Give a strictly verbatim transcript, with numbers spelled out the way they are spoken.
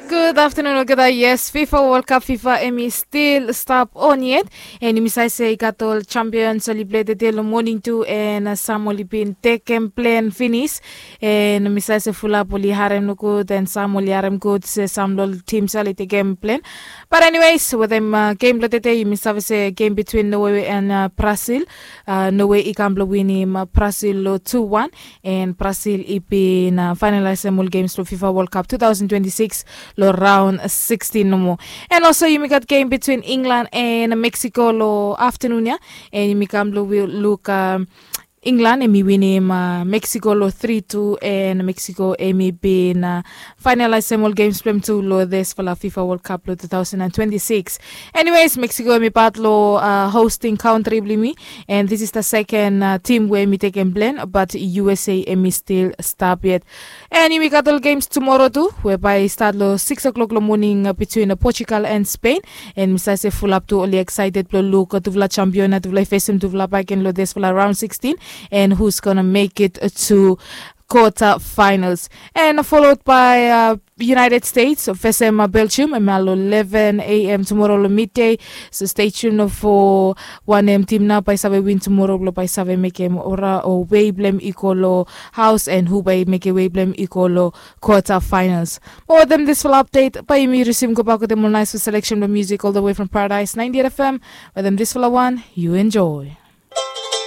Gud aftanun olgeta. Yes, fifa wol kap fifa em i stil stap on yet. An yumi save se i gat ol champions oli plei tede long moning tu, an sam oli bin tekem plen finis. An mi save se fulap oli harem nogud an sam oli harem gud se sam long ol tims ya oli tekem plen. Bat eniwes wetem gem blong tede yumi save se gem bitwin nowe an brasil. Nowe i kam blong winim brasil long tu wan. An brasil i bin fainalaesem ol gems blong fifa wol kap tu taosen twenti sikis long raon sikstin nomo. An olso yumi gat gem bitwin inglan an meksiko long aftanun ya. An yumi kam blong luk inglan em i winim meksiko long tri tu, an meksiko em i bin fainalaesem ol gems blong hem tu long disfala fifa wol kap long tu taosen an twenti sikis. Eniwes meksiko em i pat long hosting kantri blong yumi. An this is the seken tim we em i tekem plen, bat usa em i stil stap yet. An yumi gat ol gems tumoro tu we bae i stat long sikis o'klok long moning bitwin portugal an spen. An mi save se fulap tu oli eksaeted blong luk tufala champion ya tufala i fesem tufala baken long disfala raon sikstin. An hus gona mek it tu kota fainals. An folod bae united states fesem belgium em ya long eleven a m tumoro long middei. So stei tun fo wanem tim nao bae i save win tumoro blong bae i save mekem ora o wei blong hem i go long haos an hu bae i mekem wei blong hem i go long kota fainals. Mo wetem disfala apdet bae yumi risim gobak wetem ol naesfala seleksen blong musik ol da wei from paradaes naenti et fm. Wetem disfala wan yu enjoe.